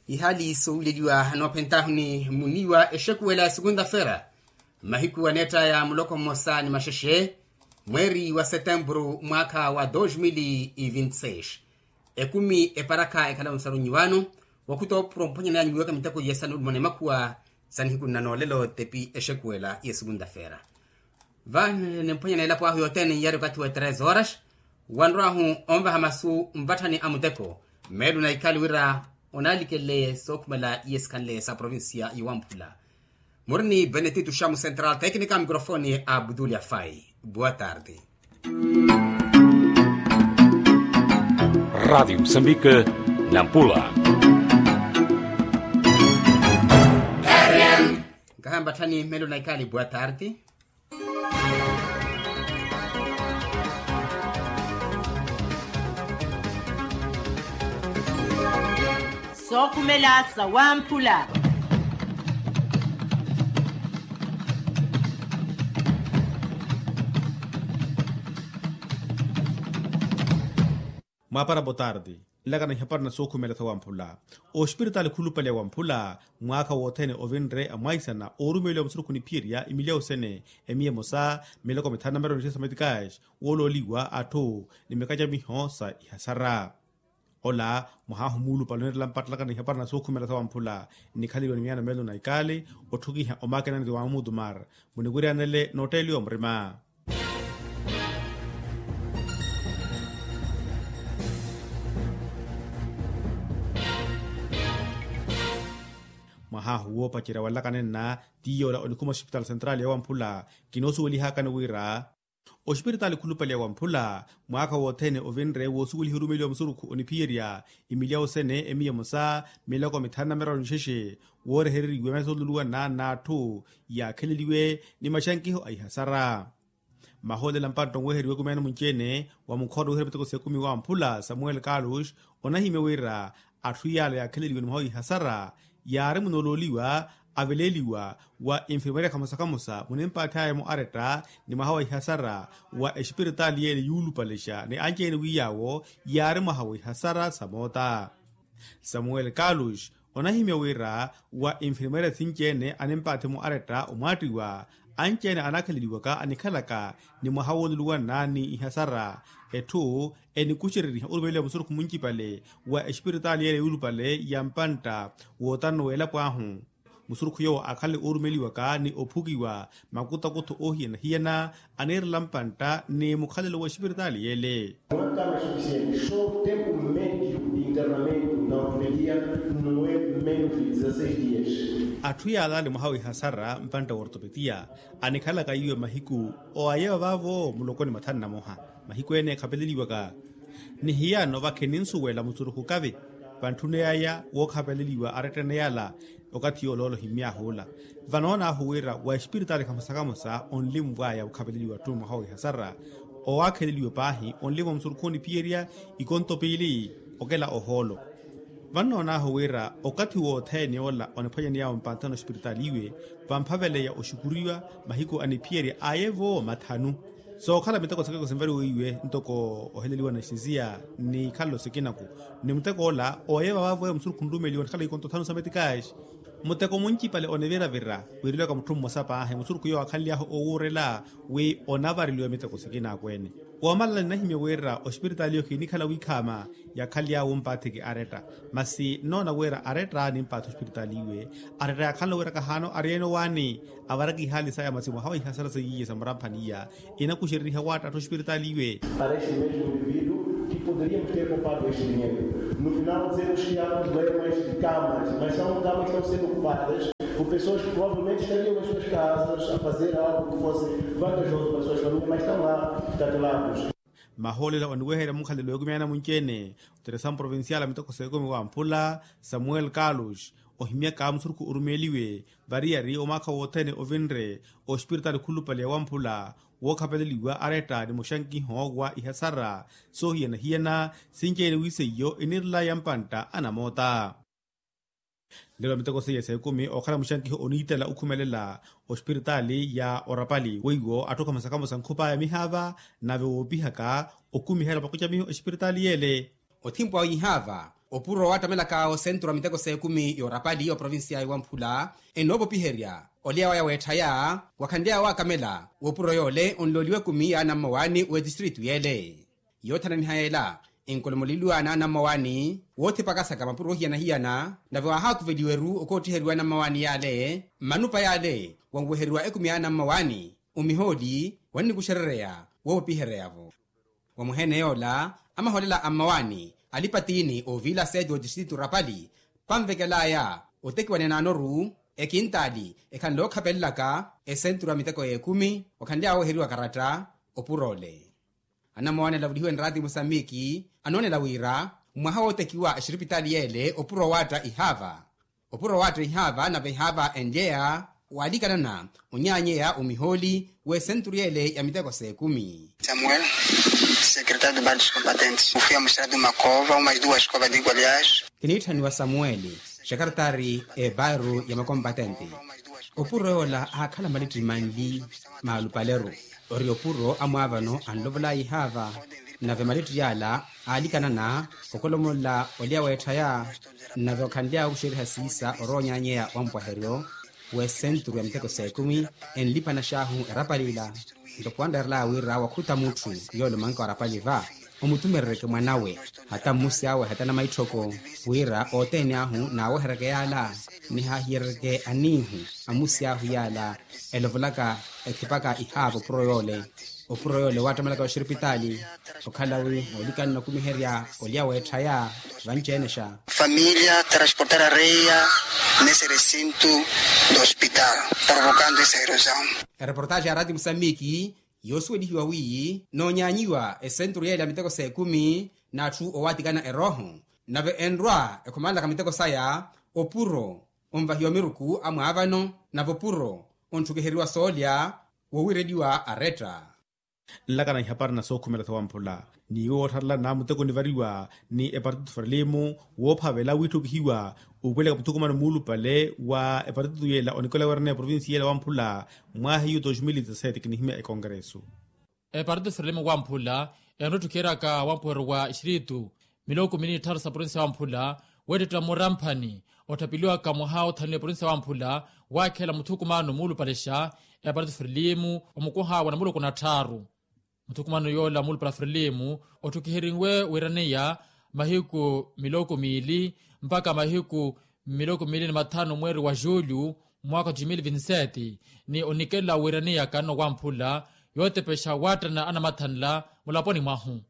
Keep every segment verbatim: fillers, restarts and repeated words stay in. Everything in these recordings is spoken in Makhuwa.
Ihaali suuleliwa anoophentahu ni muniwa exekuwela ya sukunta fera mahiku aneettaya muloko mmosa ni maxexe, mweeri wa setempuru mwaakha wa dos mil e vinte seis. Ekumi eparaka ekhala onsaru nyiwano wakhuta opuro mphwanyanaya nyiwaka miteko yesa nulumana emakhuwa sa nihiku nnanoolelo tepi exekuwela ya sukunta fera. Vani nimphwanyana elapo ahu yothene iyari okathi wa tres horas. Wanrwahu onvaha masu nvatthani a muteko, meelo na ikali wira onalikele sookhumela iye sikhanle sa provincia ya wamphula. Murini benetito xamu central tecnica microfone a butulia fai. Boa tarde. Rádio Moçambique, Nampula. Nkahamba tthani meelo na ikali boa tarde. Sookhumela sa wamphula. Mwaapara botarti. Nlakana ihapari na sookhumela sa wamphula. Ospiritaali khulupale wamphula mwaakha wothene ovinre amwaisana oorumeliwa musurukhu niphiyerya imilya osene emiya emosa miloko mithanu na miraru ni sesa metikasi woolooliwa atthu ni mikacamiho sa ihasara. Ola mwahahu muulupale oneerela mpattalaka na ihapari na sookhumela sa wamphula nnikhaleliwa ni miyaano meelo na ikaali otthukiha omakenani ti wa mutumar muniwiryanele nootteeliwa murima. Mwahahu woopacerya wanlakana enna ti yoola onikhuma ospitaali sentrali ya wamphula kinoosuwelihakani wira ospiritaali khulupale ya wamphula mwaakha wothene ovinre woosuweliha orumeliwa musurukhu oniphiyerya imilya osene emiya emosa miloko mithanu na miraru nixexe woorehereriwe masoluluwana n'atthu yaakheleliwe ni maxankiho a ihasara. Mahoolela mpantta onweheriwe kumeeno munci-ene wa mukhotto wooheriwa miteko s'ekumi wamphula samuel carlos onahimya wira atthu yaala yaakheleliwe ni mwaha wa ihasara yaari munoolooliwa aveleeliwa wa infirmeria kamosa kamosa munimpaathi aya-mo aretta ni mwaha wa ihasara wa espiritaali yeele yuulupalexa ni anci-ene wi yaawo yaari mwaha wa ihasara sa moota. Samuel carlos onahimya wira wa infirmeria sinci-ene animpaathi-mo aretta omwaattiwa anci-ene anaakhaleliwaka anikhalaka ni mwaha wooluluwana ni ihasara etthu enikuxereriha orumeliwa musurukhu muncipale wa espiritaali yeele yuulupale ya mpantta wootano w'elapo ahu. Musurukhu yoowo akhanle oorumeliwaka ni ophukiwa makutakutho oohiyana-hiyana aniirela mpantta ni mukhalelo wa espiritaali yeele. Mwaka masufisiente so tempu mmédio de internamento na ortopedia no é menos de dezasseis dias. Atthu yaalaale mwaha wa ihasara mpantta wa ortopedia anikhalaka iwe mahiku owayewa vaavo mulokoni mathanu na moha. Mahiku ene ekhapeleliwaka ni hiyano vakhininsuwela musurukhu kavi vantthune yaya wookhapeleliwa aretta ene yaala. Okathi yooloolo himmyaahuula vanoonaahu wira wa espiritaali kamosa kamosa onlimwaya okhapeleliwa atthu mwaha wa ihasara owaakheleliwe paahi onlimwa musurukhu oniphiyerya ikonto piili okela ohoolo. Vannoonaahu wira okathi wothene ola oniphwanyaney'awe mpanthano ospiritaali iwe vamphaveleya oxukuriwa mahiku aniphiyerya aye-vo mathanu. Sookhala miteko sikeko sinvariwe iwe ntoko oheleliwa na xinziya ni ikhalelo sikinaku ni muteko ola oye vavavo eyo musurukhu nrumeliwa nikhala ikonto thanu sa metikaaxi. Muteko muncipale oniviravira wiireliwaka mutthu mmosa paahi musurukhu yoowo akhanly'ahu owuurela wi onavareliwa miteko sikina akweene. Woomalala ninahimya wira ospiritaali yoowo khinikhala wiikhaama yakhanly'awe ompaathiki aretta. Masi nnoona wira aretta nimpaathi ospiritaali iwe aretta yaakhanle wira kahaana ariyene owaani avaraka ihaali saya masi mwaha wa ihasara seiye sa muramphani iya inakuxereriha waattattha ospiritaali iwe. Para este mesmo indivíduo que poderíamos ter poupado este dinheiro. No final dizemos que há problemas de camas, mas são camas que estão sendo ocupadas por pessoas que provavelmente estariam em suas casas a fazer algo que fosse vantajoso para suas famílias, mas estão lá, catelados. Mahoolela oniweherya mukhalelo w'ekumi aya na munci-ene oteresamu provincial a miteko s'ekumi wamphula samuel carlos ohimyaka musurukhu orumeeliwe variyari omwaakha wothene ovinre ospiritaali khulupale ya wamphula wookhapeleliwa aretta ni muxankiho wa ihasara soohiyana-hiyana sinci-ene wi seiyo iniirelaya mpantta anamoota. Nlelo miteko seiye s'ekumi ookhala muxankiho oniitela okhumelela ospiritaali ya orapali weiwo atthu kamosa kamosa nkhup'aya mihaava nave woopihaka okumihela vakocamiho espiritaali yeele. Othimpu awe ihaava Opuro waattamelaka osenturu a miteko s'ekumi y'orapali oprovincia y'ewamphula, enoopopiherya olya waya weetthaya, wakhanly'awe waakamela w'opuro yoole onlooliwa ekumi y'anammawaani w'etistritu y'ele. Yoothananiha yeela, enkolomoleliwa n'anammawaani woothipakasaka mapuro ohiyana-hiyana, nave waahaakuveliwa eru okoottiheriwa anammawaani y'ale, mmanupa y'ale wanweheriwa ekumi y'anammawaani, omihooli wannikuxerereya woopopihereya-vo. Wa muheene yoola, amahoolela a mmawaani alipatiini oviila seti otistritu rapali, panvekel'aya otekiwa ninaanoru ekintaali ekhanle ookhapelelaka esenturu ya miteko y'ekumi, okhanly'awe oweheriwa karatta opuro ole. Anammawaani alavulihiwe nraati musambiki anoonela wira, mwaha wootekiwa exiripitaali y'ele opuro waatta ihaava. Opuro waatta ihaava nave ihaava enlyeya waalikanana onyaanyeya omihooli w'esenturu y'ele ya miteko s'ekumi. Samuel, secretário de bairros combatentes, o fiamos tirado uma cova, umas duas covas de igualias. Kiniitthaniwa samueli, xekaretari ebairro ya makompatente. Opuro yoola aakhala malitti manli maalupaleru. Ori opuro amwaavano anlovol'aya ihaava, nave malitti yaala aalikanana okolomolla olya weetthaya, nave okhanly'awe okuxeriha siisa oroonyanyeya wa mpwaheryo w'esenturu ya miteko s'ekumi. Enlipana xaahu erapali ila, nto pwanreerel'aya wira wakhuta mutthu yoole omanka wa rapali va, omutumerereke mwan'awe, hata mmusi awe hata namaitthoko, wira othene ahu naaweheryeke yaala, nihaahiyerereke aniihu a mmusi ahu yaala elovolaka, ethipaka ihaava opuro yoole. Opuro yoole waattamelaka oxiripitaali, okhala wi moolikanana okumiherya olya weetthaya. Vanci-enexa. Família transportar areia nesse recinto do hospital, provocando essa erosão. Ereportaxi ya raati musambiki yoosuwelihiwa wi noonyaanyiwa esenturu yeela ya miteko s'ekumi, n'atthu owaatikana erooho, nave enrwa ekhomalelaka miteko saya, opuro onvahiwa miruku a mwaavano, nave opuro ontthukiheriwa soolya wowiireliwa aretta. Nlakana ihapari na sookhumela sawamphula, ni woottharelana muteko onivariwa ni epartito frelimo woophavela wiitthukihiwa, ukwelaka muthukumano muulupale wa epartito yeela onikola weeraneya provinsi yeela wamphula, mwaha iyu dos mil e dezassete kinihimya ekongresu. Epartito frelimo wamphula enrotthukeraka wampuheru wa exiritu miloko mili ni tthaaru sa provinsi wamphula, weettettela muramphani otthapeliwaka mwaha othanu eprovinsi wamphula, waakhela muthukumano muulupalexa epartito frelimo omukoha wa namuloko na tthaaru. Muthukumano yoola muulupale frelimo otthukiheriwe wiiraneya mahiku miloko miili mpaka mahiku miloko miili ni mathanu mweeri wa julho, mwaaka wa dos mil e vinte e sete, ni onikelela wiiraneya kanno wamphula yootepexa waattana anamathanla mulaponi mwahu.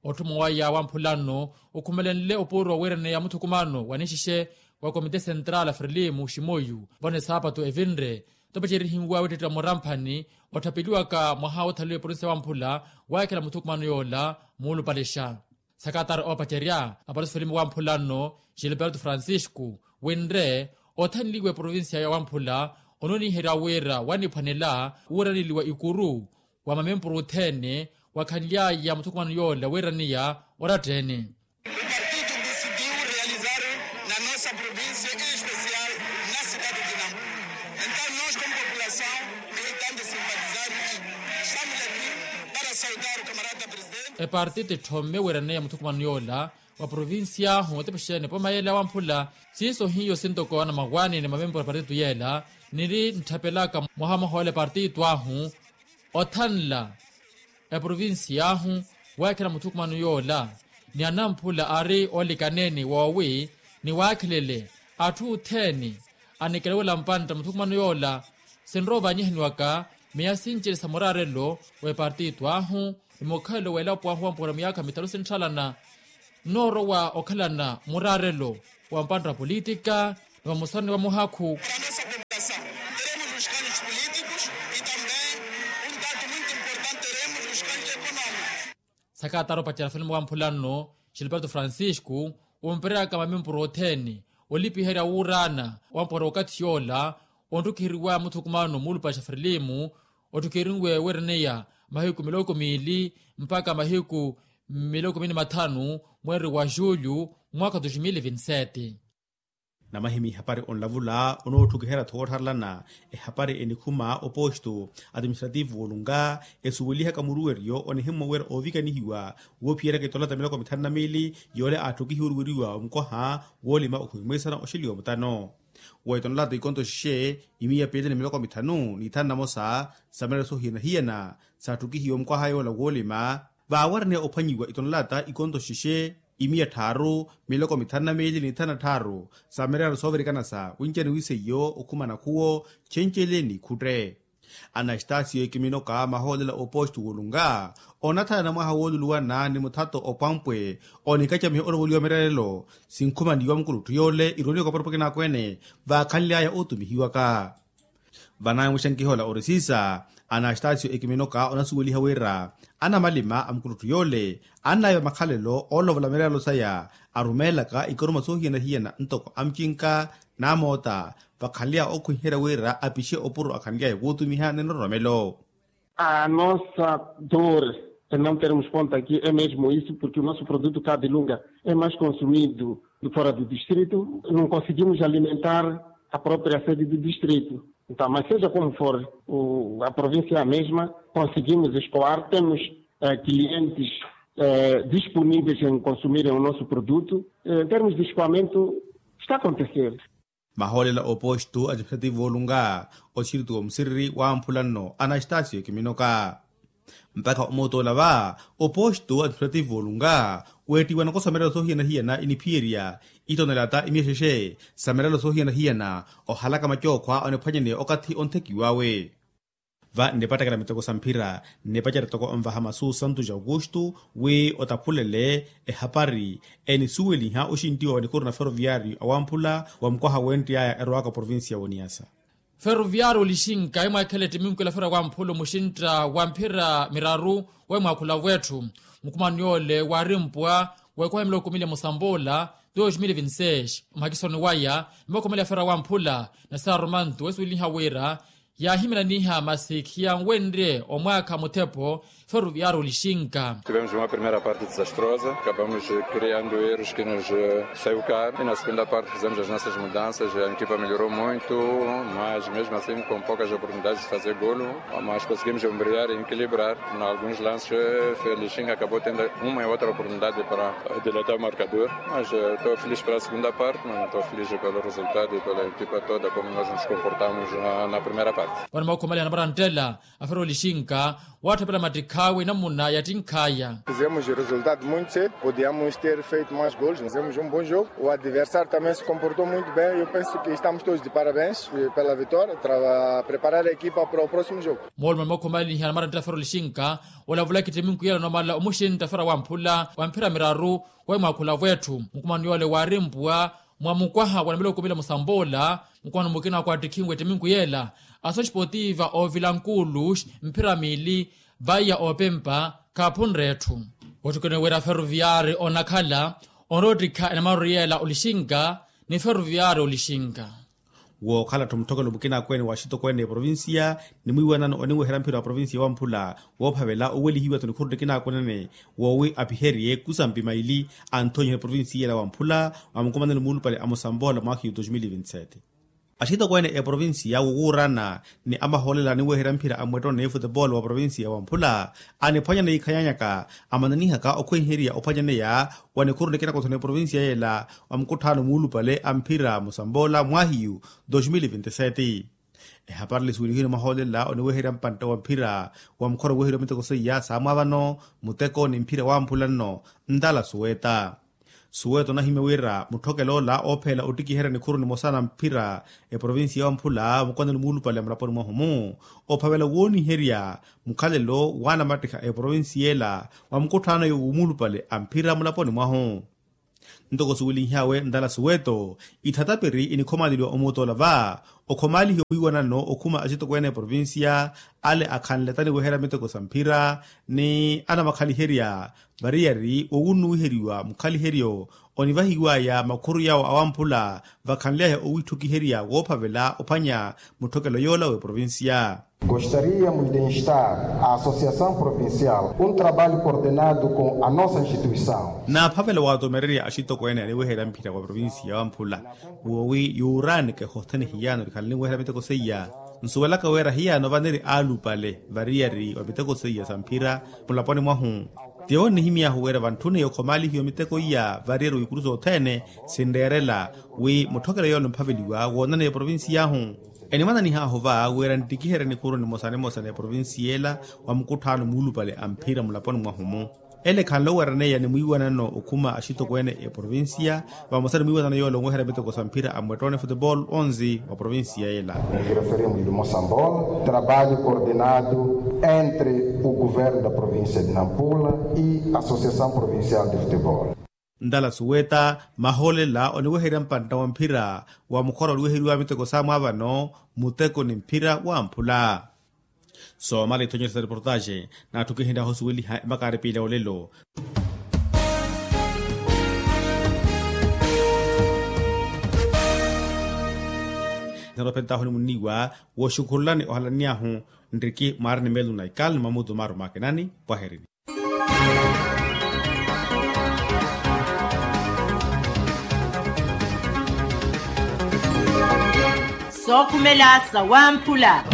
Otthuma waya wamphula nno okhumelenle opuro wiiraneya muthukumano wa nixixe wa komite sentral frelimo ximoyu vano esaapatu evinre, topacerihiwa wittettela muramphani otthapeliwaka mwaha woothaliwa eprovinsi wamphula, waakhela muthukumano yoola muulupalexa. Sakatari oopacerya apartito frelimo wamphula nno, gilberto francisco, winre othanliwa eprovinsiya ya wamphula ononiherya wira waniphwanela wuuraneliwa ikuru wa mamempuru othene, wakhanly'aya muthukumano yoola wiiraneya oratta-ene. O partido decidiu realizar na nossa província, em especial na cidade de Nampula. Então, nós, como população militante e simpatizantes, estamos aqui para saudar o camarada presidente. Epartito etthome wiiraneya muthukumano yoola wa provincia ahu otepexene poma yeela wamphula. Siiso hiyo sintoko anamawaani ni mamempuru a partitu yeela niri ntthapelaka mwaha mwaha ole partitu ahu othanla eprovincia ahu, weekhela muthukumano yoola ni anamphula ari oolikaneeni woowi ni waakhelele atthu othene anikelewela mpantta muthukumano yoola. Sinrowa ovaanyihaniwaka miya sinci ni sa muraarelo w'epartitu ahu ni mukhalelo w'elapo ahu wampuwela miyaakha mithanu sintthalana nnoorowa okhalana muraarelo wa mpantta wa politika ni wa musoni wa muhakhu. Sakatara opacerya felimo wamphula nno gilberto francisco ompereraka mamimpuro othene olipiherya wuuraana wamphwera okathi yoola. Ontthukiheriwa muthukumano muulupale xa frelimo otthukiheriwe weeraneya mahiku miloko miili mpakha mahiku miloko miili ni mathanu mweeri wa julho mwaakha wa dos mil e vinte e sete. Namahimya ehapari onlavula onootthukihera-tho woottharelana ehapari enikhuma oposto atiministrativu woolunga esuwelihaka muruweryo onihimmwa wira oovikanihiwa woophiyeraka itonlata miloko mithanu na miili yoole aatthukihiwe oruweriwa omukwaha woolima okhuhimwisana oxeliwa mutano. Wa itonlata ikonto xixe imiya piili ni miloko mithanu n'ithanu namosa samirela soohiyana-hiyana saatthukihiwe omukwaha yoola woolima vaawariniya ophwanyiwa itonlata ikonto xixe imiya tthaaru miloko mithanu na miili n'ithanu na tthaaru samirela soovirikana sa winca ni wiseiyo okhumana khuwo cenceele n'ikhutte. Anastasiyo ekiminoka mahoolela oposto woolunga onathanana mwaha wooluluwana ni muthato opwampwe onikacamiha olovoliwa mirelelo sinkhumaniwa mukulutthu yoole irooniwaka porpokina akweene vaakhanly'aya ootumihiwaka. Vanamwixa nkihoola orisiisa anastasiyo ekiminoka onasuweliha wira anamalima a mukulutthu yoole annaiva makhalelo oolovola mirelelo saya arumeelaka ikoruma soohiyana-hiyana ntoko amucinka n'amoota vakhanly'aya ookhwiherya wira apixe opuro akhanly'aya wootumiha ni nroromelo. A nossa dor de não termos ponto aqui é mesmo isso porque o nosso produto cá de lunga é mais consumido de fora do distrito, não conseguimos alimentar a própria sede do distrito. Então mas seja como for a província é a mesma, conseguimos escoar, temos clientes disponíveis em consumirem o nosso produto. Em termos de escoamento está a acontecer. Mahoolela oposto a tiphativo olunga oxirituwa musiriri wamphula nno anastasiyo ekiminoka. Mpakha omootoola va oposto a tiphativo olunga weettiwa nakosa mirelo soohiyana-hiyana iniphiyerya itonelata imiyexexe sa mirelo soohiyana-hiyana ohalaka macookhwa oniphwanyaneya okathi onthekiw'awe. Va nnipattakela miteko sa mphira nnipacerya toko onvaha masu santu ja aukustu wi otaphulele ehapari enisuweliha oxintiwa wa nikuru na ferroviario awamphula wa mukwaha wenttiy'aya erowaka provincia woniyasa. Ferroviario olixinka emwaakhela ettiminkhu ela fera wamphula omuxintta wa mphira miraru wa emwaakhula wetthu mukhumani yoole waarimpwa wa ekwaha miloko mili musambola dos mil vinti seis mhakisoni waya ni makhomeela fera wamphula na saarumantu wesuweliha wira yaahiminaniha masi khiyanwenrye omwaakha muthepo. Ferroviario olixinka. Tivemos uma primeira parte desastrosa, acabamos criando erros que nos saiu caro e na segunda parte fizemos as nossas mudanças, a equipa melhorou muito, mas mesmo assim com poucas oportunidades de fazer golo, mas conseguimos ombrear e equilibrar. Em alguns lances o Ferroviario acabou tendo uma e outra oportunidade para dilatar o marcador, mas estou feliz pela segunda parte, mas não estou feliz pelo resultado e pela equipa toda como nós nos comportamos na primeira parte. Vano makhumaliha namarantela a Ferroviario olixinka waatthapela mattikh'awe namuna yattinkh'aya. Fizemos resultado muito cedo, podíamos ter feito mais golos, fizemos um bom jogo, o adversário também se comportou muito bem, eu penso que estamos todos de parabéns pela vitória, preparar a equipa para o próximo jogo. Moolumo ni makhumaliha namarantela a Ferroviario olixinka olavulaka ettiminku yela onomala omuxintta fera wamphula wa mphira miraru wa emwaakhula wetthu mukhumani yoole waarimpwa mwa mukwaha wa namiloko mili musamboola. Mukhumani mukina kwattikhinwe ettiminku yela asosi potiva ovilankulus mphira miili vaiya opempa khaaphunre etthu. Ottikoniwe wira ferroviario onakhala onoottikha enamaru yela olixinka ni ferroviario olixinka. Wookhala-tho mutthokelo mukina akweene wa axitokweene a eprovincia ni mwiiwanano oniweherya mphira wa provincia wamphula woophavela owelihiwa-tho nikhuru nikina akweene woowi apiherye kusampi maili anthonyihela eprovincia ela wamphula wa mukumanani muulupale a musamboola mwaahiyu dos mil vinti sete. Axitokweene a eprovincia wowuurana ni amahoolela aniweherya mphira a mwettono ni futebolo wa provincia wamphula aniphwanya ni ikhanyanyaka amananihaka okhwenherya ophwanyaneya wa nikhuru nikina kothona eprovincia yela wa mukutthaano muulupale a mphira musamboola mwaahiyu dos mil vinti sete. Ehapari ela esuwelihiwe ni mahoolela oniweherya mpantte wa mphira wa mukhora oweherya miteko seiya saamwaavano muteko ni mphira wamphula nno ntala suweta. Suweta onahimya wira mutthokelo ola oopheela ottikiherya nikhuru nimosa na mphira eprovincia wamphula mukumanani muulupale a mulaponi mwahu-mu ophavela wooniherya mukhalelo waanamattikha a eprovincia ela wa mukutthaano yo wumuulupale a mphira mulaponi mwahu. Ntoko suwelinhyawe ntala suweto ithatapiri inikhomaleliwa omutoola va okhomaalihiwa mwiiwanano okhuma axitokweene a eprovincia ale akhanle taniweherya miteko sa mphira ni anamakhaliherya variyari wowunnuwiheriwa mukhaliheryo onivahiwaya makhuru yawo awamphula vakhanly'aya owitthukiherya woophavela ophwanya mutthokelo yoola w'eprovincia. Gostaríamos de instar a associação provincial um trabalho coordenado com a nossa instituição. Naaphavela waatomererya axitokweene aniweherya mphira wa provincia wamphula woowi yuuraanike hothene hiyaano nikhala niweherya miteko seiya. Nsuwelaka wira hiyaano vaniri aalupale variyari wa miteko seiya sa mphira mulaponi mwahu. Tiyo nnihimy'ahu wira vantthuniye okhomaalihiwa miteko iya variyari wa ikuru sothene sinreerela wi mutthokelo yoole omphaveliwa woonaneya eprovincia ahu. Enimwananih'ahu va wira nttikiherye nikhuru nimosa nimosa n'eprovincia ela wa mukutthaano muulupale a mphira mulaponi mwahu-mu. Ele khanle owereneya ni mwiiwanano okhuma axitokweene eprovincia vamosa ni mwiiwanano yoole onweherya miteko sa mphira a mwettoone futebol onze wa provincia ela. Nireferimu limosa mbol trabalho coordenado entre o governo da provincia de nampula e associação provincial de futebol. Ntala suweta mahoolela oniweherya mpantta wa mphira wa mukhora oliweheriwa miteko saamwaavano muteko ni mphira wamphula. Soomala ithonyeryo sa reportaxe naatthukihentyahu osuweliha emakaari piila olelo. Nthano ophentahu nimunniwa wooxukhurulani ohalanny'ahu nriki mwaari ni meelo na ikali ni mamutu maaru maakinani pwaherini. Sookhumela sawamphula.